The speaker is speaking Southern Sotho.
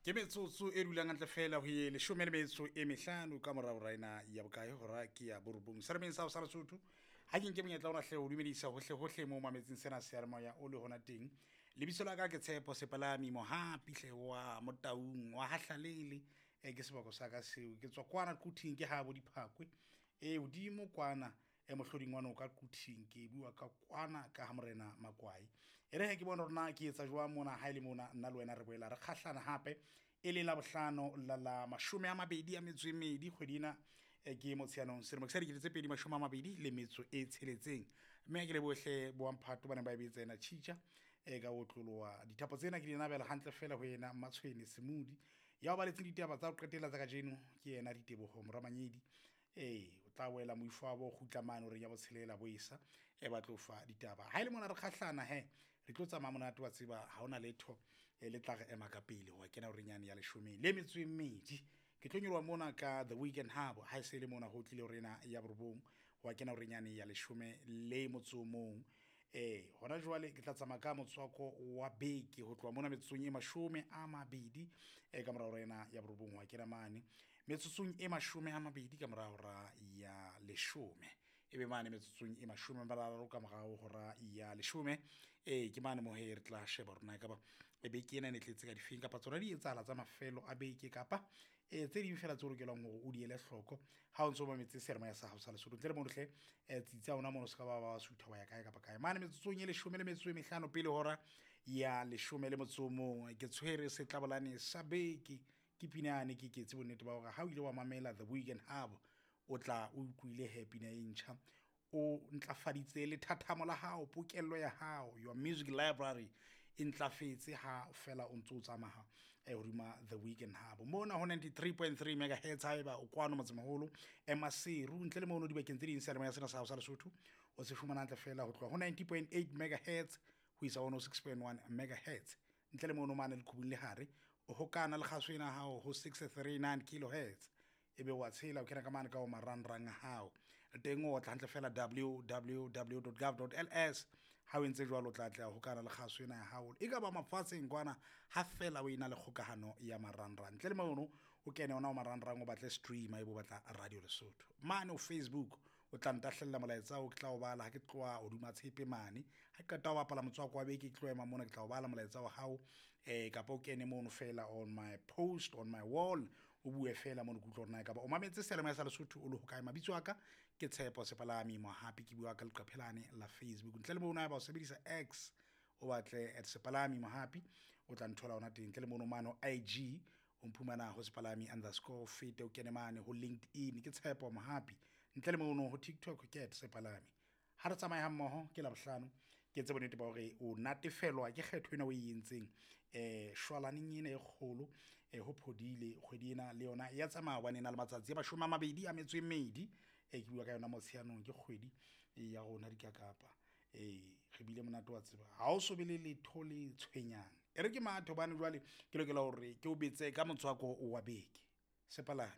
Ke metsotso e dulang hantle fela ho ye 15 ka morao raena ya bokae, hora ke ya 9 seremeng sa ho sa Lesotho. Ha ke nke monyetla ona hle ho dumedisa hohle hohle mo mametseng sena seyalemoya o le hona teng. Lebitso la ka ke Tshepo Sepalami Mohapi hle wa Motaung wa Hahlalele. Ke seboko sa ka seo, ke tswa kwana Quthing, ke ha bo Diphakwe e hodimo kwana e mohloding wa noka Quthing, ke bua ka kwana ka ha Morena Makwai. E re he ke bone hore na ke etsa jwang mona, ha e le mona nna le wena re boela re kgahlana hape e le la bohlano la la 22 kgwedi ena ke Motsheanong selemo sa 2026. Mme ke le bohle boamphato ba neng ba e betsa ena tjhitja e ka otloloha dithapo tsena ke di nabela hantle fela ho yena Mmatshwene Semudi ya o baletseng ditaba tsa ho qetela tsa kajeno, ke yena Diteboho Moramanyedi. Ee, o tla boela moifo wa bo kgutla mane horeng ya botshelela bo esa e ba tlo fa ditaba. Ha e le mona re kgahlana he, re tlo tsamaya monate wa tseba, ha hona letho le tla re ema ka pele ho kena horeng yane ya 12. Ke tlo nyoloha mona ka The Weekend Hub, ha e se le mona ho tlile horena ya 9 ho kena horeng yane ya 11. Hona jwale ke tla tsamaya ka motswako wa beke ho tloha mona metsotsong e 20 ka mora hora ena ya 9 ho kena mane metsotsong e 20 ka mora hora ya 10, ebe mane metsotsong e 30 ka mora hora ya 10. Ke mane mo he re tla sheba hore na ekaba beke ena e ne tletse ka difeng kapa tsona di etsahala tsa mafelo a beke kapa tse ding fela tse o lokelang hore o di ele hloko ha o ntso mametse seyalemoya sa hao sa Lesotho. Ntle le mono hle tsitsa ona mono, se ka ba ba sutha wa ya kae kapa kae. Mane metsotsong e 15 pele hora ya 11, ke tshwere setlabolane sa beke, ke pina yane ke ketse bonnete ba hore ha o ile wa mamela The Weekend Hub o tla o utlwile he pina e ntjha, o ntlafaditse lethathamo la hao, pokello ya hao, your music library e ntlafetse ha fela o ntso o tsamaya hodima The Weekend Hub mona ho 93.3 megahertz. Haeba o kwano motsemoholo Maseru, ntle le mono dibakeng tse ding seyalemoya sena sa hao sa Lesotho o se fumana hantle fela ho tloha ho 90.8 megahertz ho isa 106.1 megahertz. Ntle le mono mane leqhubung le hare o hokana le kgaso ena hao ho 639 kilohertz, ebe wa tshela o kena ka mane ka o marangrang a hao teng, o otla hantle fela www.gov.ls. Ha o entse jwalo o tla atleha hokana le kgaso ena ya hao e ka ba mafatsheng kwana, ha fela o ena le kgokahano ya marangrang. Ntle le mono o kene ona o marangrang o batle stream ebe o batla Radio Lesotho mane o Facebook, o tla ntahlella molaetsa o ke tla o bala ha ke tloha hodima tshepe mane. Ha ke qeta ho bapala motswako wa beke, ke tlo ema mona ke tla o bala molaetsa wa hao, kapa o kene mono fela on my post on my wall o bue fela mono, ke utlwe hore na ekaba o mametse seyalemoya sa Lesotho o le hokae. Mabitso a ka ke Tshepo Sepalami Mohapi, ke bua ka leqephelane la Facebook. Ntle le mono haeba o sebedisa X o batle at Sepalami Mohapi o tla nthola ona teng. Ntle le mono mane IG o mphumana ho Sepalami underscore, fete o kene mane ho LinkedIn ke Tshepo Mohapi. Ntle le mono ho TikTok ke at Sepalami. Ha re tsamaye hammoho ke Labohlano, ke etse bonnete ba hore o natefelwa ke kgetho ena o e entseng shwalaneng ena e kgolo ho phodile kgwedi ena le yona ya tsamaya hobane e na le matsatsi a 22. Ke bua ka yona Motsheanong, ke kgwedi ya rona dikakapa. Re bile monate wa tseba, ha o so be le letho le tshwenyang. E re ke mathe hobane jwale ke lokela hore ke o betse ka motswako wa beke. Sepalami.